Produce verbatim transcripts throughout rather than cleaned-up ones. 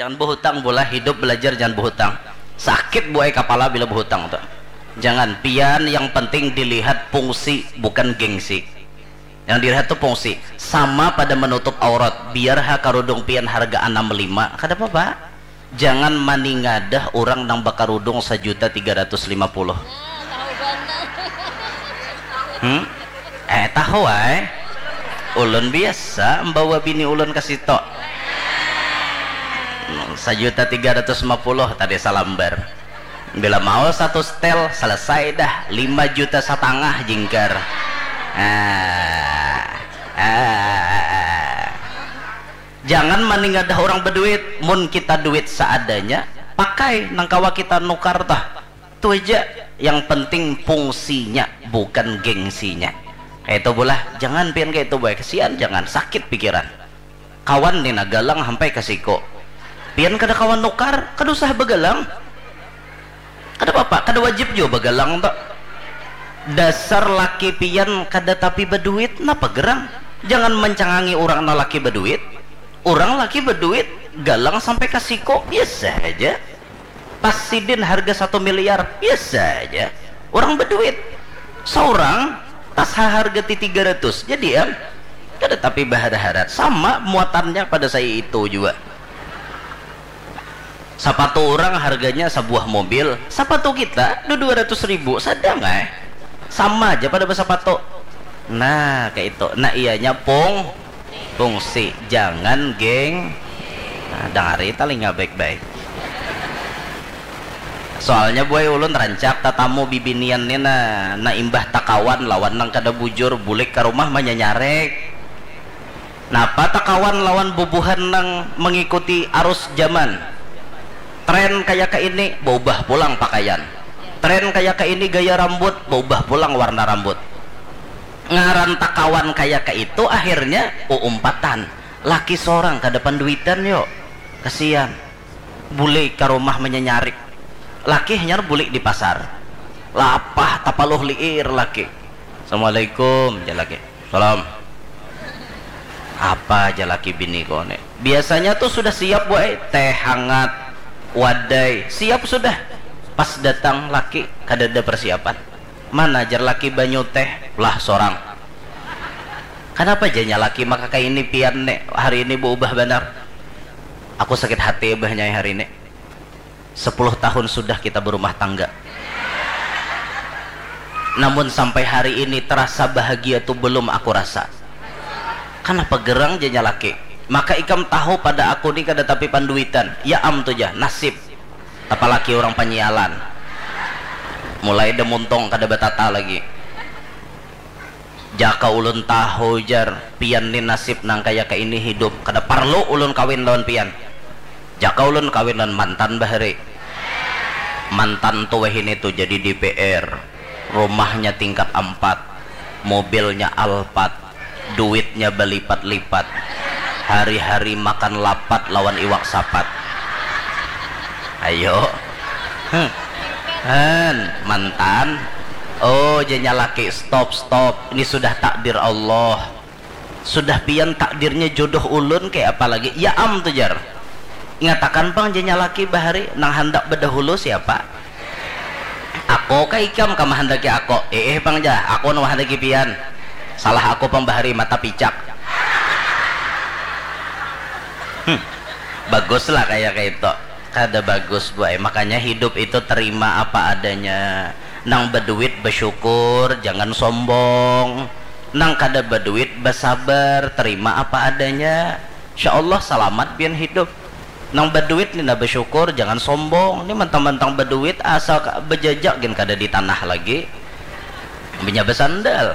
Jangan bahutang, bulah hidup belajar jangan bahutang. Sakit buai kapala bila bahutang tu. Jangan, pian yang penting dilihat fungsi bukan gengsi. Yang dilihat tu fungsi. Sama pada menutup aurat. Biar ha karudung pian harga anam lima, kada papa. Jangan maningadah urang nang bakarudung sajuta tiga ratus lima puluh. Hmm? Eh, tahu ai. Ulun biasa membawa bini ulun ke situ. Hmm, sajuta tiga ratus lima puluh tadi salambar. Bila mau satu setel, selesai dah, lima juta setengah jingkar. Ah, ah. Jangan maningadah orang berduit, mun kita duit seadanya, pakai nang kawa kita nukar tah. Tu aja, yang penting fungsinya, bukan gengsinya. Kayak itu bulah, jangan pian kayak itu boy, kesian jangan, sakit pikiran. Kawan ni nah galang sampai ke siko. Pian kada kawan nukar, kada usah begalang. Kada apa-apa, kada wajib jua bagalang tu. Dasar laki pian kada tapi baduit, napa gerang? Jangan mencangangi urang nang laki baduit. Urang laki baduit, galang sampai ka siko, biasa haja. Tas sidin harga satu miliar, biasa haja. Urang baduit. Saurang, tas haharga ti tiga ratus, jadi am. Kada tapi bahara-hara. Sama muatannya pada saya itu jua. Sapatu urang harganya sabuah mobil, sapatu kita dua ratus ribu, sadang ai. Sama aja pada basapatu. Nah, kayak itu. Nah, ianya pung fungsi, jangan geng. Nah, dangari talinga baik-baik. Soalnya buai ulun rancak tatamu bibinian ni nah, nah imbah takawan lawan nang kada bujur bulik ka rumah manyanyarek. Napa takawan lawan bubuhan nang mengikuti arus zaman? Tren kaya ka ini, baubah pulang pakaian. Tren kaya ka ini, gaya rambut, baubah pulang warna rambut. Ngaran takawan kaya ka itu, akhirnya uumpatan. Laki sorang kada panduitan, yo. Kasian. Bulik ka rumah manyanyarik. Laki hanyar bulik di pasar. Lapah tapaluh liir laki. "Assalamualaikum," jar laki. "Salam." Apa jar laki bini ko ni? Biasanya tu sudah siap, buai, teh hangat, wadai, siap sudah. Pas datang laki, kadada persiapan. "Mana jar laki banyu teh?" "Lah, sorang." "Kanapa janya laki maka kaini pian ni, hari ini baubah banar?" "Aku sakit hati, Abah, nyai, hari ini. Sepuluh tahun sudah kita berumah tangga. Namun sampai hari ini terasa bahagia tu belum aku rasa." "Kanapa gerang?" janya laki. "Maka ikam tahu pada aku ni kada tapi panduitan." "Ya am tu jah, nasib. Tapalaki urang panyialan. Mulai da muntung kada batata lagi." "Jaka ulun tahu," jar, "pian ni nasib nang kaya kaini hidup, kada parlu ulun kawin lawan pian. Jaka ulun kawin lawan mantan bahari. Mantan tu wahini tu jadi D P R, rumahnya tingkat ampat, mobilnya Alphard, duitnya balipat-lipat, hari-hari makan lapat lawan iwak sapat." Ayo. Huh. Han, mantan. Oh, janya laki, "Stop, stop. Ini sudah takdir Allah. Sudah pian takdirnya jodoh ulun, kayak apa lagi?" "Ya am tu," jar. "Ingatakan pang," janya laki bahari, "nang handak bedahulu siapa?" "Ako kah ikam kah mahandaki ako?" "Iih pang jah, ako nang mahandaki pian. Salah ako pang bahari, mata picak." Hmm. Baguslah kaya kaitu. Kada bagus, buai. Makanya hidup itu terima apa adanya. Nang baduit basyukur, jangan sombong. Nang kada baduit basabar, terima apa adanya. Insya Allah salamat pian hidup. Nang baduit ni nah basyukur, jangan sombong. Ni mantang-mantang baduit, asa ka-, bajajak gin kada di tanah lagi. Inya basandal.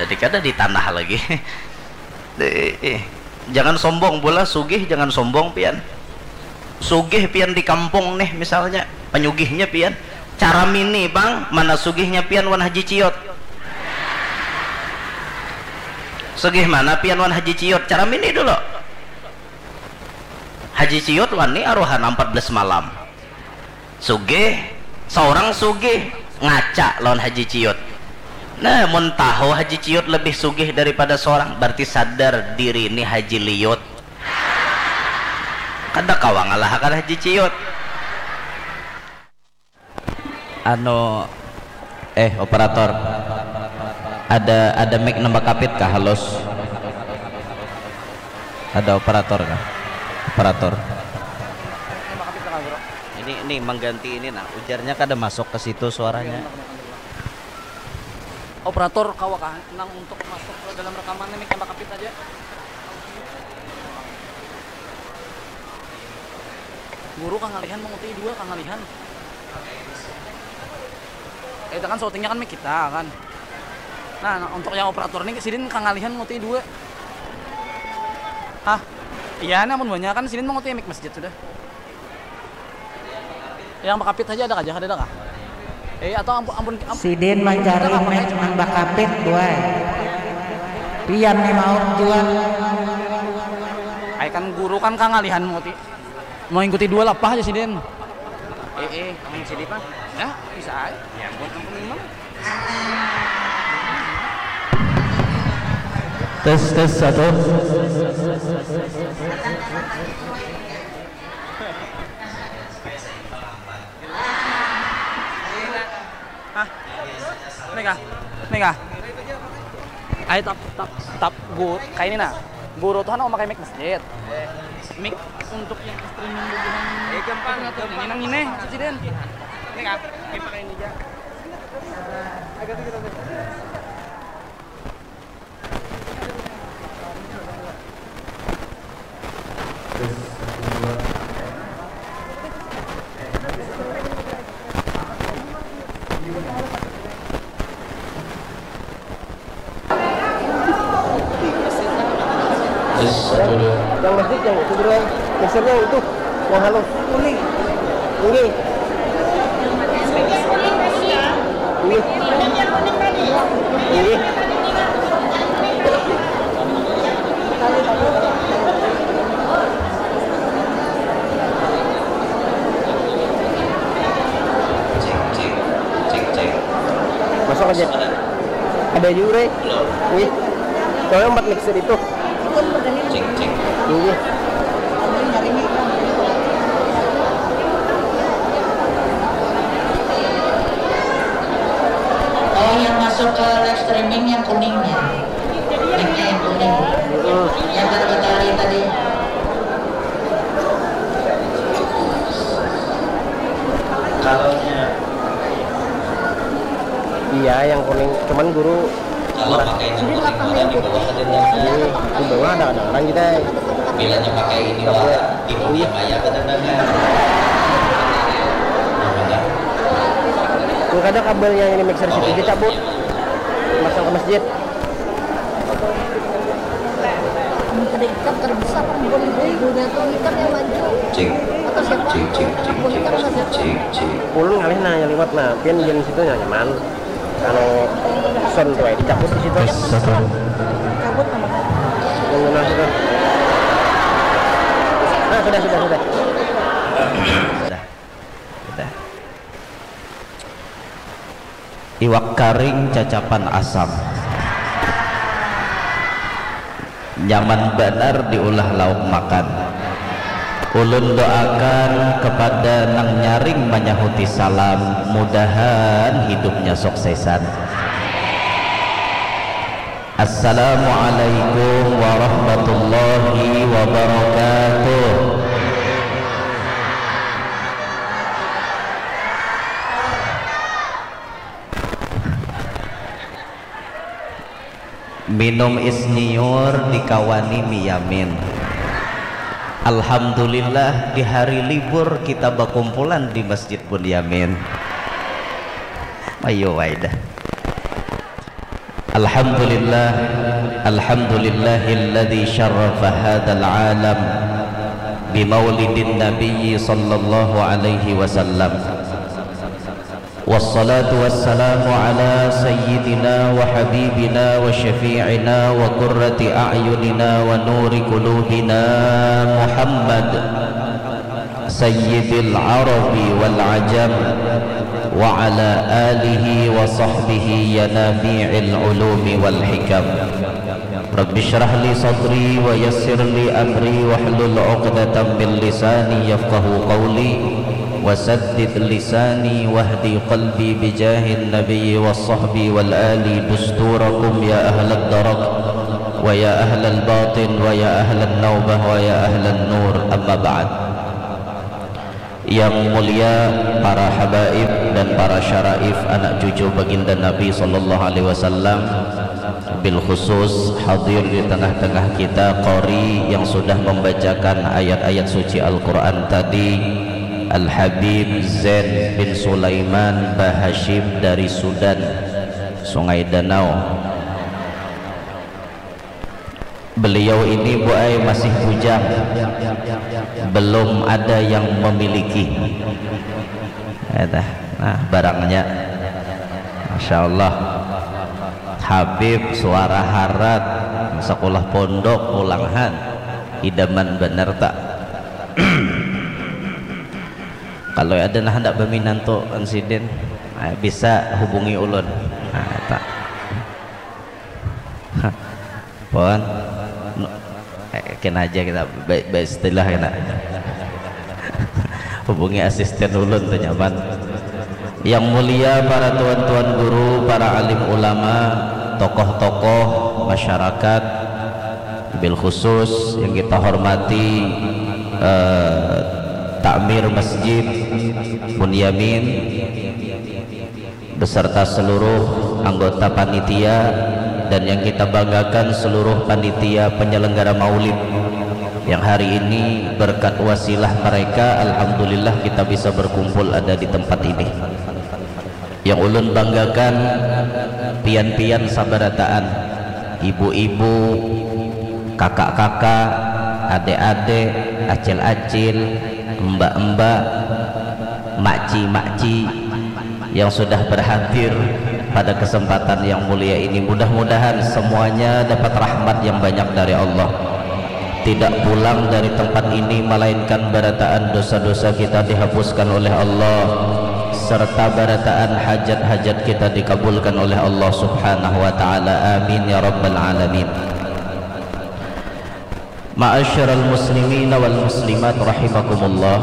Jadi kada di tanah lagi. Eh, eh. Jangan sombong, bulah sugih jangan sombong pian. Sugih pian di kampung nih misalnya, panyugihnya pian. Caramini pang, mana sugihnya pian wan Haji Ciot. Sugih mana pian wan Haji Ciot? Caramini dulu. Haji Ciot wani aruhan ampat belas malam. Sugih, saurang sugih, ngaca lawan Haji Ciot. Nah, mun tahu Haji Ciot lebih sugih daripada saurang, berarti sadar diri ni Haji Liot. Kada kawa ngalahakan Haji Ciut. Anu, eh, operator, ada, ada mic nang bakapit kah? Halus. Ada operator kah? Operator. Ini, ini mengganti ini nah, ujarnya kada masuk ke situ suaranya. Operator, kawa kah nang untuk masuk ke dalam rekaman ini, mic nang bakapit aja. Guru kangalihan menguti dua, kangalihan. Eh, itu kan syutingnya kan mic kita kan. Nah, nah, untuk yang operator ini sidin kangalihan menguti dua. Hah? Iya, namun banyak kan sidin menguti mic masjid sudah. Yang bakapit aja ada kah? Ada kah? Eh, atau ampun, ampun, ampun. Sidin mancari mic nang bakapit, buai. Pian ni mauk jua. Ai kan guru kan kangalihan muti. Mau ikuti dua lapah aja sidin. Eh, eh, amun sidin mah. Ya, bisa aja. Ya ampun, ampun memang. Tes, tes, satu. Hah? Ini kah? Ini kah? Ayo tap, tap, tap, gu-, kayak ini nah. Guru tuh kan memakai mic masjid. Mic untuk yang streaming bubuhan. Eh, gampang, gampang. Ini nang ini, Ciciden. Ini kah? Ini pakai ini aja. Agak dikit aja. Yes, satu, dua. Yang masjid yang itu, Bro. Mixernya itu. Wah, halo. Kuning. Kuning. Kuning. Kuning. Cek, cek, cek, cek. Masuk aja. Ada juga, Rey. Wih. Soalnya empat mixer itu. Iya. Oh, yang masuk ke live streaming yang kuningnya. Mic-nya yang kuning. Yang kada batari tadi. Kalau Iya, yang kuning. Cuman guru kalau pakai nang kuning wara di bawah ada nang. Ini di bawah ada kadang-kadang kita. Bilanya pakai ini wara di dunia maya kada nang. Nang ada kabel yang ini mixer situ dicabut. Masang ke masjid. Kada ikam, kada bisa pang buhan ibu, ibunya tu ikam yang maju. Cik. Atau siapa? Cik, cik, cik, cik, cik, cik, cik. Ulun ngalih nah yang liwat nah, pian gin situ nyaman. Anu sound tu ai dicabut di situ. Tes satu. Cabut nama. Yang guna situ. Nah, sudah, sudah, sudah. Sudah. Sudah. Iwak karing cacapan asam. Nyaman banar diulah lauk makan. Ulun doakan kepada nang nyaring manyahuti salam, mudahan hidupnya suksesan. Assalamualaikum warahmatullahi wabarakatuh. Minum is nyiur dikawani mi yamin. Alhamdulillah di hari libur kita bakumpulan di Masjid Bunyamin. Ayo wae dah. Alhamdulillah, alhamdulillahilladzi syarrafa hadzal alam bimaulidin nabiyyi sallallahu alaihi wasallam. Wassalatu wassalamu ala sayyidina wa habibina wa syafi'ina wa qurrati a'yunina wa nuri qulubina Muhammad sayyidil arabi wal ajam wa ala alihi wa sahbihi ya nafi'il ulumi wal hikam. Rabbi syrah li sadri wa yassir li amri wahlul uqdatam min lisani yafqahu qawli wasaddid lisani wahdi qalbi bijahin nabiyyi was sahbi wal ali dusturakum ya ahlad darak wa ya ahlal batin wa ya ahlan naubah wa ya ahlan nur, amma ba'd. Yang mulia para habaib dan para syaraif anak cucu baginda Nabi sallallahu alaihi wasallam, bil khusus hadir di tengah-tengah kita qari yang sudah membacakan ayat-ayat suci Al-Quran tadi, Al-Habib Zain bin Sulaiman Bahashim dari Sudan, Sungai Danau. Beliau ini, Bu ai, masih bujang, belum ada yang memiliki. Nah, barangnya, masya Allah, Habib suara harat, sekolah pondok pulang han, idaman bener tak? Kalau ada nah hendak berminantu insiden, bisa hubungi ulun. Nah, tak. Pon, eh, kena aja kita beristilah kena. Hubungi asisten ulun tu nyaman. Yang mulia para tuan-tuan guru, para alim ulama, tokoh-tokoh masyarakat, bil khusus yang kita hormati eh, Takmir Masjid Bunyamin beserta seluruh anggota panitia dan yang kita banggakan seluruh panitia penyelenggara maulid yang hari ini berkat wasilah mereka alhamdulillah kita bisa berkumpul ada di tempat ini. Yang ulun banggakan pian-pian sabarataan, ibu-ibu, kakak-kakak, adik-adik, acil-acil, mbak-mbak, makci-makci yang sudah berhadir pada kesempatan yang mulia ini. Mudah-mudahan semuanya dapat rahmat yang banyak dari Allah. Tidak pulang dari tempat ini melainkan barataan dosa-dosa kita dihapuskan oleh Allah serta barataan hajat-hajat kita dikabulkan oleh Allah Subhanahu wa taala. Amin ya rabbal alamin. Ma'asyiral muslimin wal muslimat rahimakumullah.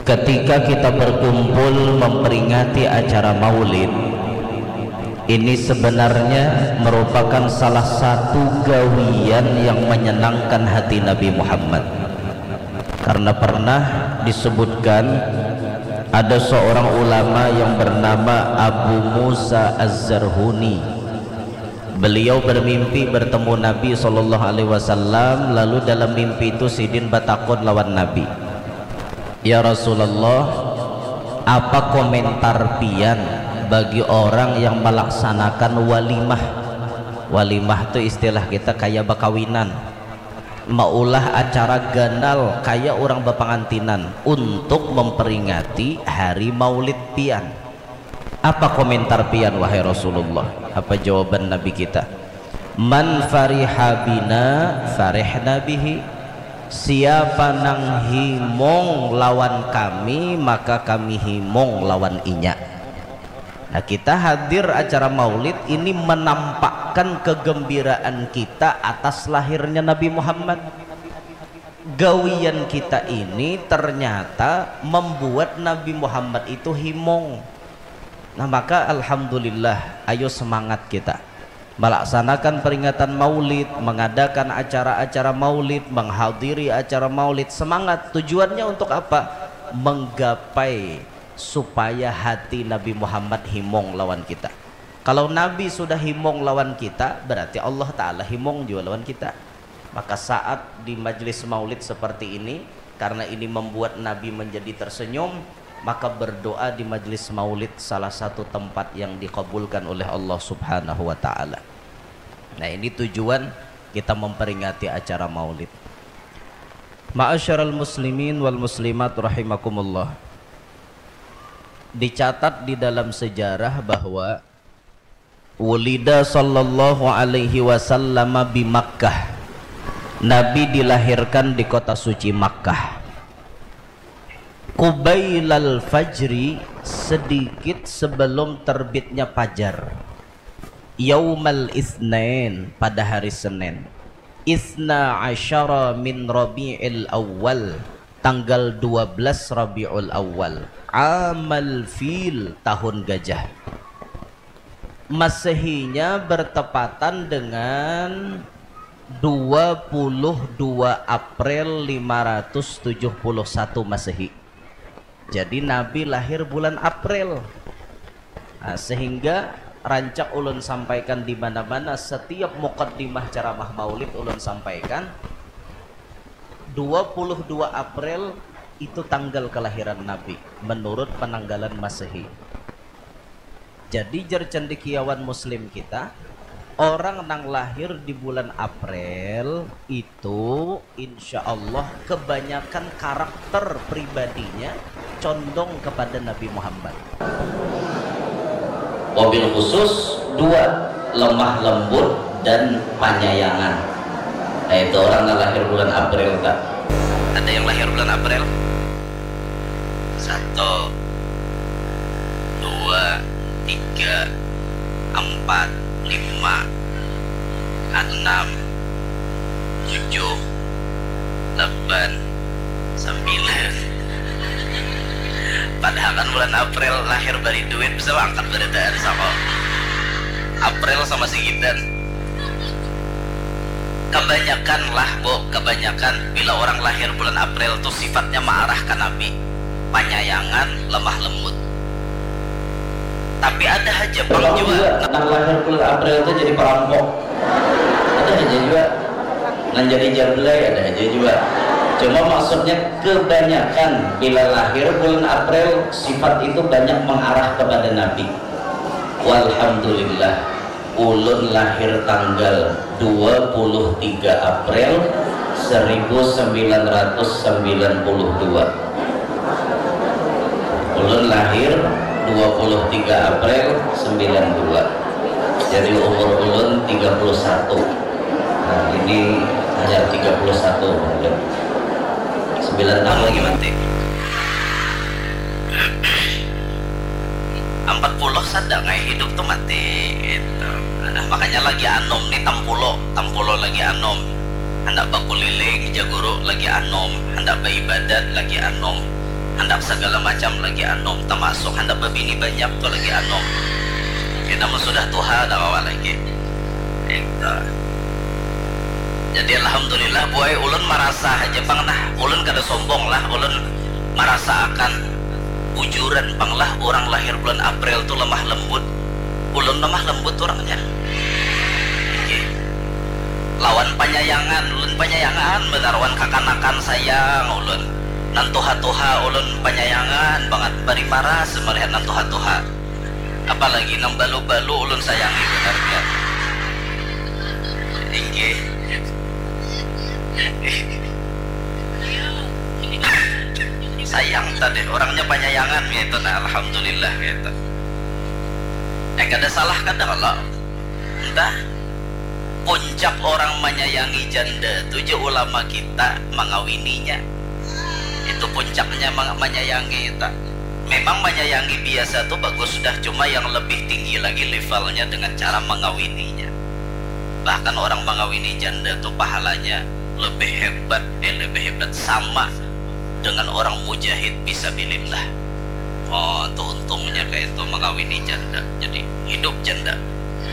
Ketika kita berkumpul memperingati acara Maulid, ini sebenarnya merupakan salah satu gawian yang menyenangkan hati Nabi Muhammad. Karena pernah disebutkan ada seorang ulama yang bernama Abu Musa Az-Zarhuni. Beliau bermimpi bertemu Nabi sallallahu alaihi wasallam, lalu dalam mimpi itu sidin batakun lawan Nabi, "Ya Rasulullah, apa komentar pian bagi orang yang melaksanakan walimah?" Walimah tu istilah kita kaya bakawinan, maulah acara ganal kaya urang bapangantinan untuk memperingati hari maulid pian. Apa komentar pian, wahai Rasulullah? Apa jawaban Nabi kita? "Man fariha bina farihna bihi." Siapa nang himung lawan kami, maka kami himung lawan inya. Nah, kita hadir acara maulid ini menampakkan kegembiraan kita atas lahirnya Nabi Muhammad. Gawian kita ini ternyata membuat Nabi Muhammad itu himung. Nah, maka alhamdulillah, ayo semangat kita melaksanakan peringatan maulid, mengadakan acara-acara maulid, menghadiri acara maulid. Semangat. Tujuannya untuk apa? Menggapai supaya hati Nabi Muhammad himung lawan kita. Kalau Nabi sudah himung lawan kita, berarti Allah Ta'ala himung juga lawan kita. Maka saat di majlis maulid seperti ini, karena ini membuat Nabi menjadi tersenyum, maka berdoa di majlis maulid salah satu tempat yang dikabulkan oleh Allah Subhanahu wa Ta'ala. Nah, ini tujuan kita memperingati acara maulid. Ma'asyiral muslimin wal muslimat rahimakumullah. Dicatat di dalam sejarah bahwa wulida sallallahu alaihi wasallam bi Makkah. Nabi dilahirkan di kota suci Makkah. Qubailal fajri, sedikit sebelum terbitnya fajar. Yaumal Isnin, pada hari Senin. Isna asyara min Rabi'il Awal, tanggal dua belas Rabiul Awal. Amal Fil, tahun gajah. Masehinya bertepatan dengan dua puluh dua April lima ratus tujuh puluh satu Masehi. Jadi Nabi lahir bulan April. Nah, sehingga rancak ulun sampaikan di mana-mana, setiap mukaddimah ceramah Maulid ulun sampaikan, dua puluh dua April itu tanggal kelahiran Nabi menurut penanggalan Masehi. Jadi, jar cendekiawan Muslim kita, orang nang lahir di bulan April itu, insya Allah, kebanyakan karakter pribadinya condong kepada Nabi Muhammad. Wabil khusus dua, lemah lembut dan panyayangan. Nah, itu orang nang lahir bulan April, tak? Ada yang lahir bulan April? Satu, dua, tiga, empat, lima, enam, tujuh, delapan, sembilan. Padahal kan bulan April lahir bari duit, bisa angkat barataan sama April sama sigitan. Kebanyakan lah, Bu, kebanyakan bila orang lahir bulan April tuh sifatnya marah ke Nabi, panyayangan, lemah lembut. Tapi ada aja pang juga, juga nang lahir bulan April tuh jadi perampok. Ada aja juga nang jadi jablay, ada aja juga. Cuma maksudnya kebanyakan bila lahir bulan April sifat itu banyak mengarah kepada Nabi. Walhamdulillah. Ulun lahir tanggal dua puluh tiga April seribu sembilan ratus sembilan puluh dua. Ulun lahir dua puluh tiga April sembilan dua. Jadi umur ulun tiga puluh satu. Nah, ini hanya tiga puluh satu mungkin. Sembilan tahun lagi mati. Empat puluh sada ngai hidup tu mati gitu. Nah, makanya lagi anum ni tampulo, tampulo lagi anum. Handak bakuliling jaguru lagi anum, handak baibadat lagi anum, handak sagala macam lagi anum, tamasuk handak babini banyak tu lagi anum. Kita mun sudah tuha kada kawa lagi. Gitu. Jadi alhamdulillah buai ulun marasa haja pang nah, ulun kada sombong lah, ulun marasa akan bujuran pang lah, urang lahir bulan April tu lemah lembut. Ulun lemah lembut urangnya. Oke. Lawan panyayangan, ulun panyayangan banar wan kakanakan sayang ulun. Nang tuha-tuha ulun panyayangan bangat, bari maras malihat nang tuha-tuha. Apalagi nang balu-balu ulun sayangi banar ya. Inggih. Sayang tadi, orangnya panyayangan gitu. Nah, alhamdulillah gitu. Eh, kada salah kada kalau entah puncak orang menyayangi janda tu je ulama kita mengawininya. Itu puncaknya menyayangi kita. Memang menyayangi biasa tu bagus sudah, cuma yang lebih tinggi lagi levelnya dengan cara mengawininya. Bahkan orang mengawini janda tu pahalanya lebih hebat, eh, lebih hebat sama dengan orang mujahid fisabilillah. Oh, tu untungnya kayak itu mengawini janda. Jadi hidup janda.